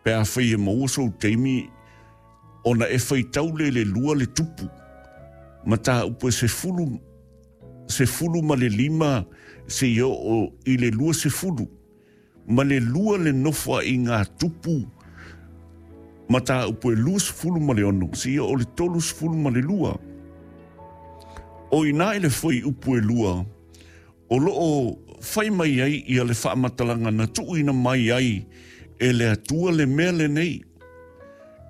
Pe afai e maua sou taimi ona e faitau lea i le lua le tupu, mataupu e sefulu, 15 seia oo i le 20, ma le lua le nofoaiga a tupu, mataupu e 26 seia oo i le 32. O i ina i le fuaiupu e lua, o lo o fai mai ai ia le faamatalaga na tuuina mai ai e le Atua le mea lenei.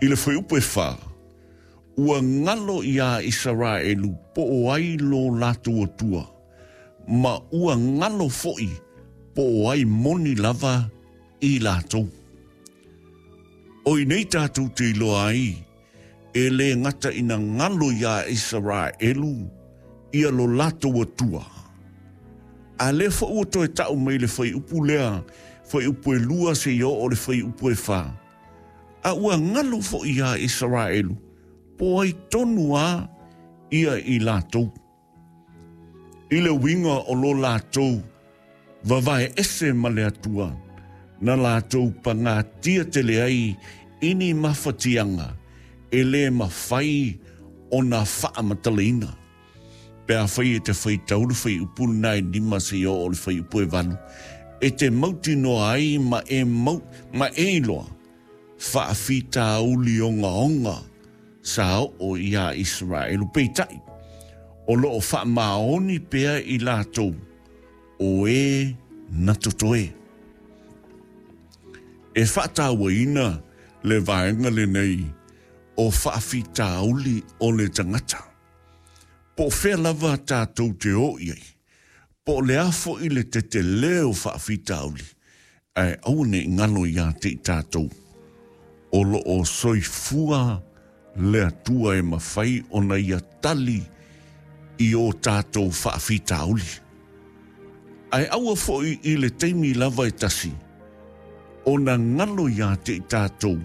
I le fuaiupu e fa, ua galo iā Isaraelu po o ai lo latou Atua, ma ua galo foi po o ai moni lava i latou. O i nei tatou te iloa ai e lē gata ina galo iā Isaraelu ia lo latou Atua, a lea foi ua toe ta'u mai le fuaiupu lea, fuaiupu e lua seia oo le fuaiupu e fa, a ua galo foi iā Isaraelu po o ai tonu a ia i latou. I le uiga o lo latou vavae ese ma le Atua, na latou pagatia tele ai i ni mafatiaga e lē mafai ona faamatalaina. Pe afai e te faitau le fuaiupu lena e lima seia oo i le fuaiupu e valu, e te mautinoa ai ma e mau, ma e iloa faafitauli ogaoga sa oo iā Isaraelu. Peitai, o lo o faamaoni pea i latou o e na totoe. E faatauaina le vaega lenei o faafitauli o le tagata. Po o fea lava tatou te o i ai, po o le a foi le tetele o faafitauli, ae aua ne i galo iā te i tatou, o lo o soifua le Atua e mafai ona Ia tali i o tatou faafitauli. Ae aua foi i le taimi lava e tasi ona galo iā te i tatou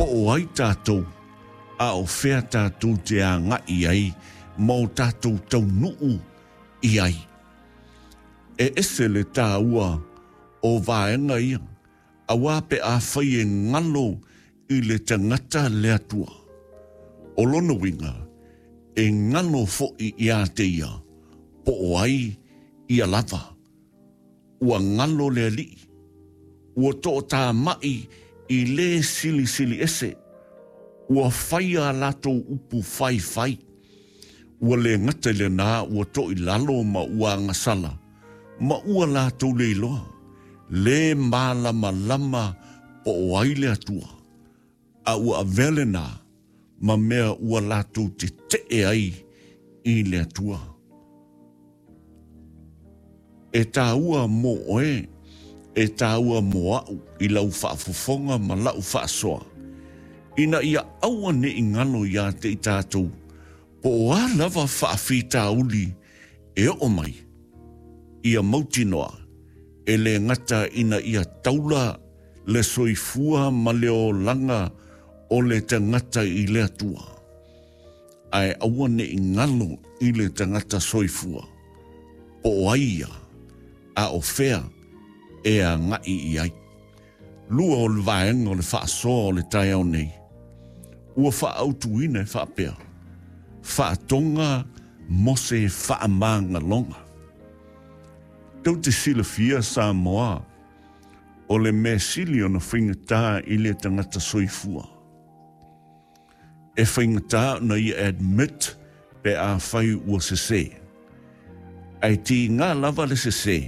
po o ai tatou a o fea tatou te agai ai ma o tatou taunuu i ai. E ese le tāua o vaega ia, auā pe afai e galo i le tagata le Atua. O lona uiga, e galo foi iā te ia, po o ai ia lava. Ua galo le Alii. Ua toʻatāmaʻi i lē silisili ese. Ua faia a latou upu faifai. Ua lē gata i lenā ua toʻilalo ma ua agasala, ma ua latou le iloa, lē mālamalama po o ai le Atua, a ua avea lenā ma mea ua latou teteʻe ai i le Atua. E tāua mō oe, e tāua mō aʻu i lau faafofoga ma laʻu faasoa, ina ia aua ne i galo iā te i tātou, po o a lava faafitauli e oo mai, ia mautinoa, e lē gata ina ia taula le soifua ma le olaga o le tagata i le Atua. Ae aua ne i galo i le tagata soifua, po o ai ia, a o fea e agai i ai. Lua o le vaega o le faasoa o le taeao nei, ua faaautuina e faapea, Faatoga mo se faamagaloga. Tou te silafia Samoa, o le mea sili ona faigata i le tagata soifua. E faigata ona ia admit pe afai ua sese. Ae tiga lava le sese,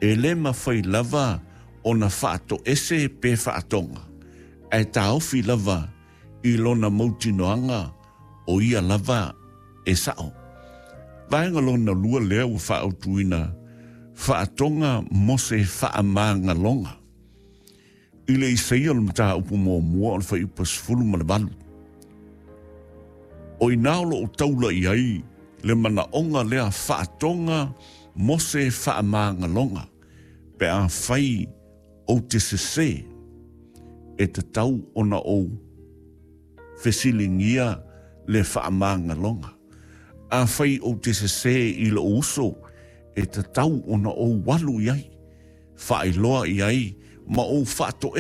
e le mafai lava ona faatoese pe faatoga, ae taofi lava i lona mautinoaga o ia lava e sa'o. Vaega lona lua lea ua faaautuina, faatoga mo se faamagaloga. I le Isaia o le mataupu muamua o le fuaiupu 18. O i ina o lo o taula i ai le manaoga lea faatoga mo se faamagaloga pe afai ou te sesē, e tatau ona ou fesiligia le faamagaloga. Afai ou te sesē i lou uso, e tatau ona ou alu i ai, faailoa i ai ma ou faatoese.